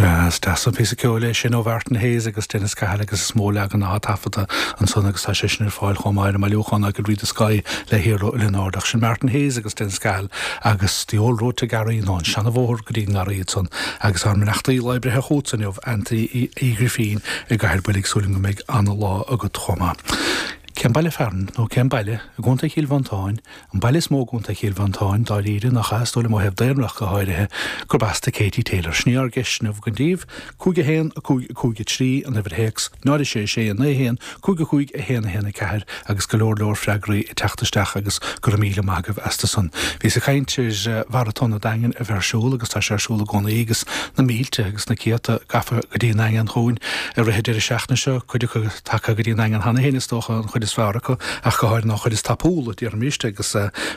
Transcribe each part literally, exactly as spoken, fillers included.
Sea, is deas an píosa ceoil é sin ó Mhartin Hayes agus Dennis Cahill agus is mó leagan atá taifeadta ansan agus tá sé sin ar fáil chomh maith ar an mbailiúchán I Could Read the Sky le hIarla Ó Lionáird. Sin Martin Hayes agus Dennis Cahill agus The Old Road to Garry nó an seanabhóthar go dtí an nGarraí ansan agus ár mbeannachtaí lá breithe chugat inniu Anthony Uí Ghrifín i gCathair Builg súil go mbeidh an-lá agat chomh maith. Cén baile fearainn nó cén baile i gContae Chill Mhantáin, an baile is mó i gContae Chill Mhantáin dáiríre nach ea, is dóigh liom ó thaobh daonra go háirithe, gurb as do Katie Taylor. Sin í ár gceist inniu don díobh, cúig a haon, a cúig, a cúig a trí, an uimhir théacs, náid a sé, sé, a naoi, a haon, cúig a cúig, a haon, a haon, a ceathair agus go leor leor freagraí ag teacht isteach agus go raibh míle maith agaibh astu san. Bhíos ag caint ar Mharatón an Daingin a bheith ar siúl agus tá sé ar siúl i gcónaí agus na mílte agus na céadta gafa go dtí an Daingean chugainn i rith an deireadh seachtaine seo, cuid acu tagtha go dtí an Daingean cheana féin is dócha, an chuid is fearr acu, ach go háirithe an chuid is tapúla, déarfaimis, agus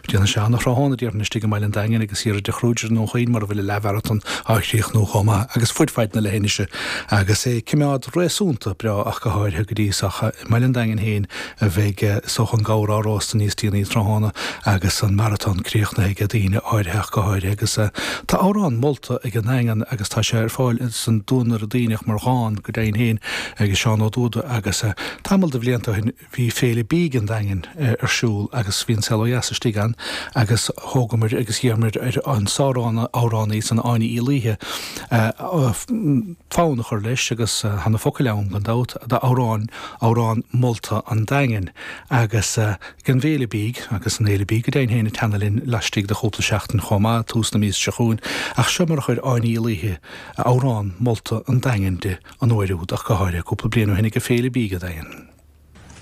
déanann sé an-thráthnóna, déarfainn, istigh i mbaile an Daingin agus thiar i dTigh Kruger i nDún Chaoin mar a bhfuil an leathmharatón á chríochnú chomh maith, agus fud fad na leithinise agus é ag coimeád réasúnta breá ach go háirithe go dtí so i mbaile an Daingin féin a bheidh is dócha an gabhar á róstadh níos déanaí tráthnóna agus an maratón críochnaithe ag daoine áirithe ach go háirithe agus tá amhrán molta ag an nDaingean agus tá sé ar fáil san Duanaire Duibhneach mar dhán go deimhin féin ag Seán Ó Dúda agus tamall de bhlianta ó shin bhí Féile Bídh an Daingin ar siúl agus bhí An Saol Ó Dheas istigh ann agus thógamar agus d'iarramar ar an sár-amhránaí san Áine Uí Laoithe fonn a chur leis agus tá na focail ann gan dabht d'amhrán amhrán molta an Daingin agus ag an bhFéile Bídh agus an Fhéile Bídh go deimhin féin ag teannadh linn laistigh de chúpla seachtain chomh maith, tús na míosa seo chugainn ach seo mar a chuir Áine Uí Laoithe amhrán molta an Daingin di an uair úd ach go háirithe cúpla bliain ó shin ag an Féile Bídh an Daingin.